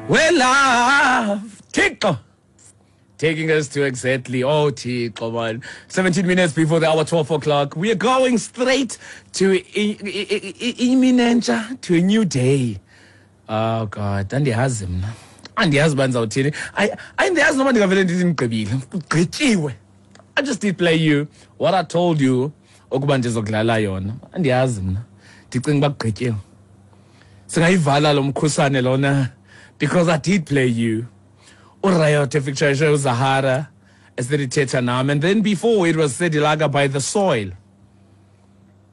We love Thixo. Taking us to exactly, oh Thixo man, 17 minutes before the hour 12 o'clock. We are going straight to iminentsha, to a new day. Oh God, andiyazi mna. Andiyazi uba ndizawuthini. Andiyazi noba ndingavele ndithi ndigqibile. Kugqityiwe. I just did play you what I told you ukuba ndizokudlala yona. Andiyazi mna. Ndicinga uba kugqityiwe. Singayivala lo mkhusane lona because I did play you. Uriot efeaturishe uZahara esedithetha nam, and then before it was Sedilaga by The Soil.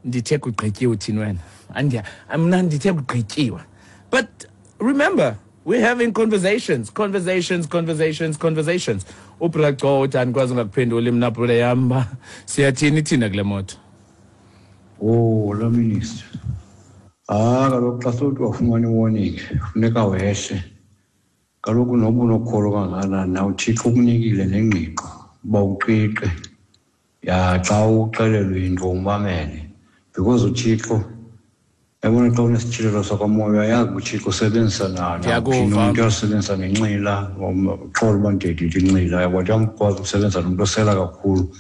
Ndithe kugqityiwe, uthini wena? Andiya, mna ndithe kugqityiwe. But remember, we're having conversations, conversations, conversations, conversations. UBraco uthi andikwazi ungakuphenduli mna brother yam uba siyathini thina kule moto. Oh, la minister. Ah, kaloku xa sowuthi wafumana i-warning, funeka wehle. Kaloku noba unokholo kangakanani na, uThixo ukunikile nengqiqo uba uqiqe. Ya, xa uxelelwe into umamele. Because uThixo, yabona xa unesityhilelo sakwamoya, uyayazi uba uThixo usebenzisa Ndiyakuva. nawuphi umntu, uyasebenzisa nenxila, uxolo uba ndididide inxila, yabo, uyakwazi ukusebenzisa nomntu osela kakhulu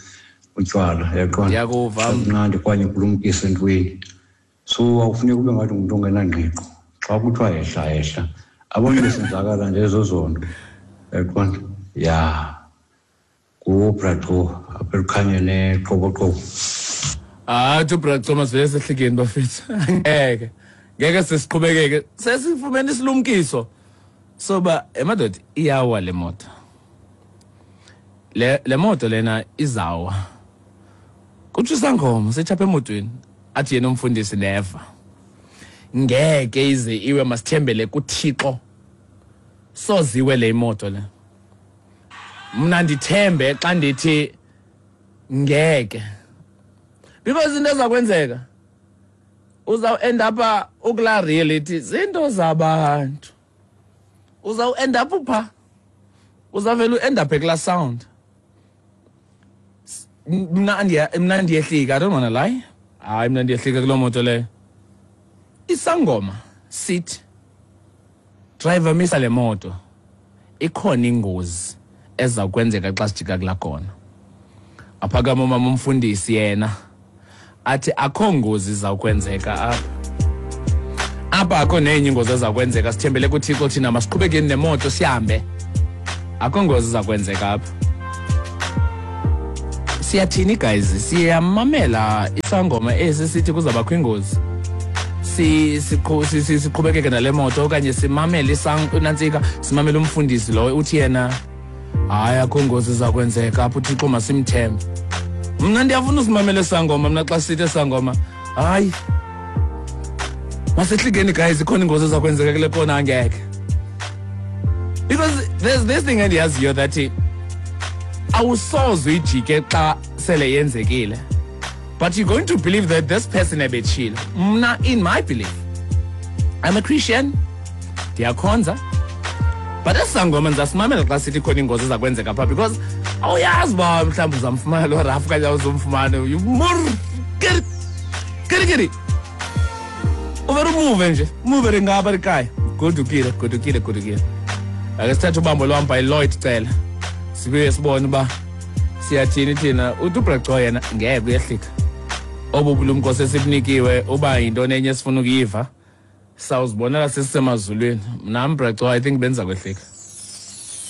utywala, uyaqonda? Ndiyakuva. Mnandi okanye kulumkisa entweni. So akufuneki ube ngathi ngumntu ongenangqiqo. Xa kuthiwa yehla, yehla. Abantu besenzakala nje ezo zonto. Uyaqonda? Ya. NguBraco apha elukhanyeni eQoboqobo. Hayi, uthi uBraco masivele sehlikeni bafethu. Ngeke. Ngeke sesiqhubekeke. Sesifumene isilumkiso. Soba emadoda iyawa le moto. Le moto lena izawa. Kutsho isangoma setsha apha emotweni. Athi yena umfundisi never. Ngeke ize iwe, masithembele kuThixo. Soziwe le imoto le. Mna ndithembe xa ndithi ngeke. Because into ezakwenzeka uzaw end up ukula reality zinto zabantu. Uzaw end up pha. Uzavela u-end up ekula sound. Mna ndiyehlika, I don't wanna lie. Hayi, mna ndiyehlika kuloo moto leyo. Isangoma sithi driver misa le moto. Ikhona ingozi eza kwenzeka xa sijika kulaa kona. Aphakama umama umfundisi yena athi akho ngozi izawukwenzeka apha. Apha akho nenye ingozi eza kwenzeka, sithembele kuThixo thina, masiqhubekeni nemoto sihambe. Akho ngozi iza kwenzeka apha. Siyathini guys? Siyamamela isangoma esi sithi kuzawubakho ingozi. Siqhubekeke nale moto okanye simamele nantsika, simamele umfundisi lo uthi yena hayi akho ngozi iza kwenzeka apha, uThixo masimthembe. Mna ndiyafuna usimamele sangoma, mna xa sithi sangoma hayi masehlikeni guys, ikhona ingozi eza kwenzeka kule kona, angeke. Because there's this thing endiyaziyo that awusoze uyijike xa sele yenzekile, but you're going to believe that this person ebetshile. Mna in my belief, I'm a Christian, ndiyakhonza, but esangoma ndizasimamela xa sithi khona ingozi eza kwenzeka pha, because awuyazi uba mhlawumbi uzamfumana lo rafu okanye awuzomfumana. Mur, kiri, kiri, kiri. Uvele umuve nje, umuve ringapha likhaya. Godukile, godukile, godukile. Ake sithathe ubambo lwam by Lloyd Cele. Sibuye sibone uba siyathini thina. Uthi uBraco yena ngeke uyehlika. Obu bulumko sesibunikiwe uba yintoni enye esifuna ukuyiva. Sawuzibonela sesisemazulwini. Mna Braco, I think benza kwehlika.